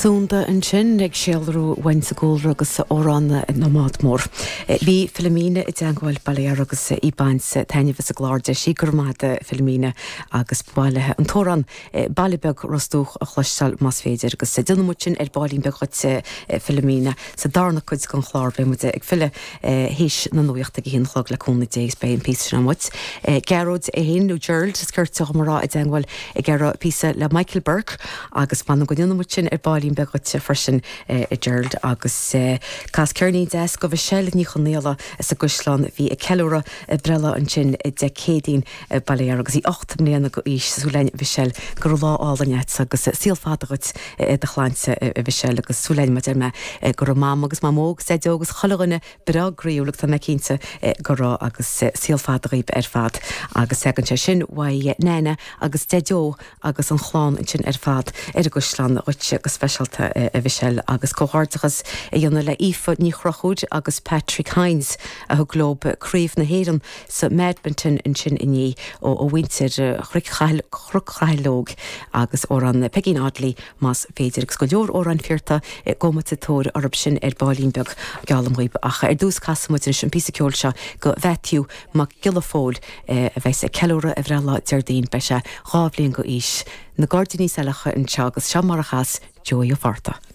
Sunda ansin ag síolrú uainn sa gcúlra agus amhrán na mbád mór. Bhí Philomena i dteangmháil bail ó Dhia uirthi agus í ag baint taitneamh as an gclár. Deir sí go raibh maith agat Philomena agus ba mhaith léi an t-amhrán Baile Beag Ros Dumhach a chloisteáil más féidir agus déanfaidh muid sin ar baillín beag dhuit Philomena sa darna cuid den chlár. Beidh muid ag filleadh théis na nuachta ag a haon a chlog le cúnamh Dé agus beidh an píosa sin agam dhuit. Gearóid é féin nó Gerald is cirte dhom a rá i dteangmháil ag iarraidh píosa le Michael Burke agus m'anam go ndéanfaidh muid sin ar baillín beag dhuit freisin a Gerald agus cas ceirnín deas go Mhichelle Ní Chonaola as an gCaisleán a bhí ag ceiliúradh a breithlá ansin Dé Céadaoin bail ó Dhia uirthi agus í 8 mbliana go aois. Súil againn Mhichelle go raibh lá álainn agat agus saol fada dhuit i do shláinte a Mhichelle agus súil againn mar deir mé go raibh Mam agus Mamó agus Deaideo agus chuile dhuine breá groíúil agus tá mé cinnte go raibh agus saol fada dhaoib ar fad agus tagann sé sin uaidh Nana agus Deaideo agus an chlann ansin ar fad ar an gCaisleán dhuitse go speisialta a Mhichelle agus comhghairdeachas a dhéanamh le Aoife Ní Chonchúir agus Patrick Hynes a thug leo Craobh na hÉireann sa mBadminton ansin inné ó mhuintir Chnoc Chaileog agus amhrán Pegeen Oddly más féidir, agus go leor amhráin fiorta, gabhfaidh muid sa tóir orthu sin ar baillín beag, geallaim dhaoib. Ach ar dtús casfaidh muid anois an píosa ceoil seo go Mhaitiú Mac Giolla Phóil a bheas ag ceiliúradh a bhreithlá Déardaoin, beidh sé 2 bhliain go aois. Na Gairdíní Saileacha anseo agus seo mar a chas Joey Ó Fátharta.